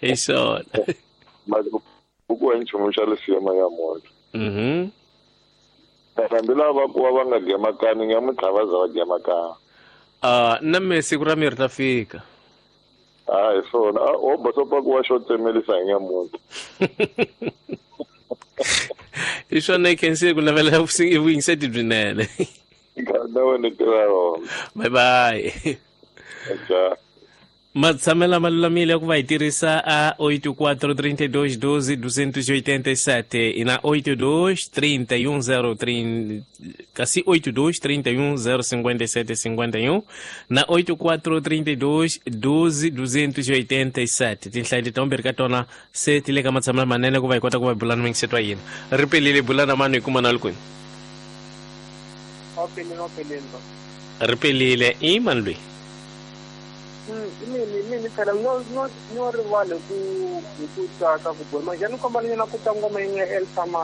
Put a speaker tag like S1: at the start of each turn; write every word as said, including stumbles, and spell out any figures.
S1: Hi swona.
S2: Buku wa nchumu xa lisema ya munhu.
S1: Mhm.
S2: Hambi lava va kuwa va nga gemakani nyamuntlha va za va gemakana.
S1: Ah, na me siku ra mi ri ta fika.
S2: A hi swona. A wo bosopa ku wa xo tsemelisa hi nyamuntlha.
S1: Hi swona i khensile ku navela vuyingiseti byinene.
S2: Na wena tirha rona.
S1: Bye bye.
S2: Ja.
S1: Matshamela ma lulamile ku va hi tirhisa a oito quatro trinta e dois doze duzentos e oitenta e sete e na oito dois trinta e um zero trinta, kasi oito dois trinta e um zero cinquenta e sete cinquenta e um na oito quatro trinta e dois doze duzentos e oitenta e sete. Tinhlayo leti timbirhi ka tona se ti le ka matshamela manene ku va hi kota ku va hi bulana mingisetwa yini. Ri pelile bulana mani hi kuma na kwini. Ri pelile i mani loyi?
S3: Mini mini phela no no no rivale ku hi ku tsaka ku boha manje ni kombela nyana ku twa ngoma yin'we ya Elsa.